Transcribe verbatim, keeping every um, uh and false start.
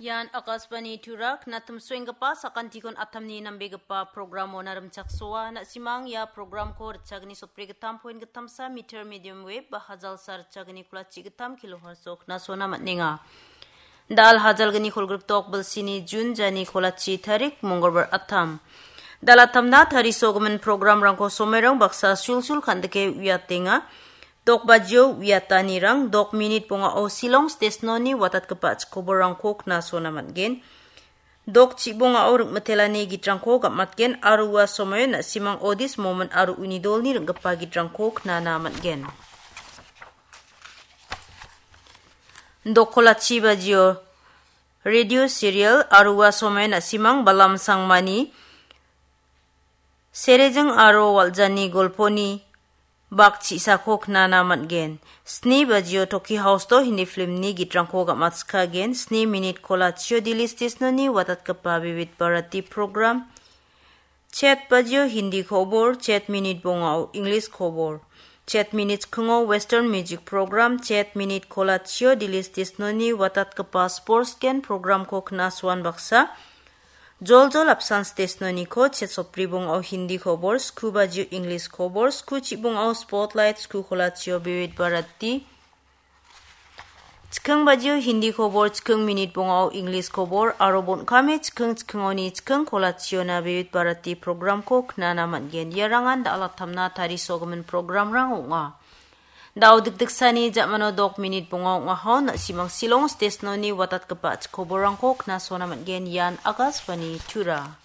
Ian Akashvani Tura, knatimsoenggipa sakantikon atamni nambegipa programo narimchaksoa. Na·simang ia programko ritchagni sotbri gittam point gittamsa meter medium wave ba hajalsa ritchagni kolachi gittam kilohertz-o knasona man·enga. Dal hajalgni kolgrikdok bilsini Jun jani kolachi tarik mongolbar atam. Dal atamna tarisogimin programrangko somerang baksa sulsul kandike uiatenga. Dok bajio uiatanirang dok minit bongao Shillong stesnoni watatgipa chikoborangko knasona man·gen. Dok chibongao ringmitelani gitrangko gam·atgen aro ua somoio na·simang Odis Momon aro uni dolni ring·gipa gitrangko knana man·gen. Dok kolachi bajio radio serial aro ua somoio na·simang Balam Sangmani Serejing aro Waljani golponi bak chisako knana man·gen. Sni bajio Toki House-o Hindi filmni gitrangko gam·atskagen. Sni minit kolachio Delhi stesnoni watatgipa Vividh Bharati program. Chet bajio Hindi kobor, chet minit bongao English kobor. Chet minit skingo Western music program, chet minit kolachio Delhi stesnoni watatgipa sports gen programko knasoan baksa. Joljol apsan stesnoniko chet sotbri bongao Hindi kobor, sku bajio English kobor, sku chibongao Spotlight, sku kolachio Vividh Bharati. Chiking bajio Hindi kobor, chiking minit bongao English kobor, aro bon·kame chiking chikingoni chiking kolachiona Vividh Bharati programko knana man·gen. Iarangan dal atamna tarisogimin programrang ong·a. Dao dikdiksani ja·mano dok minit bonga ong·aha, na·simang Shillong stesnoni watatgipa chikoborrangko knasona man·gen. Ian Akashvani Tura.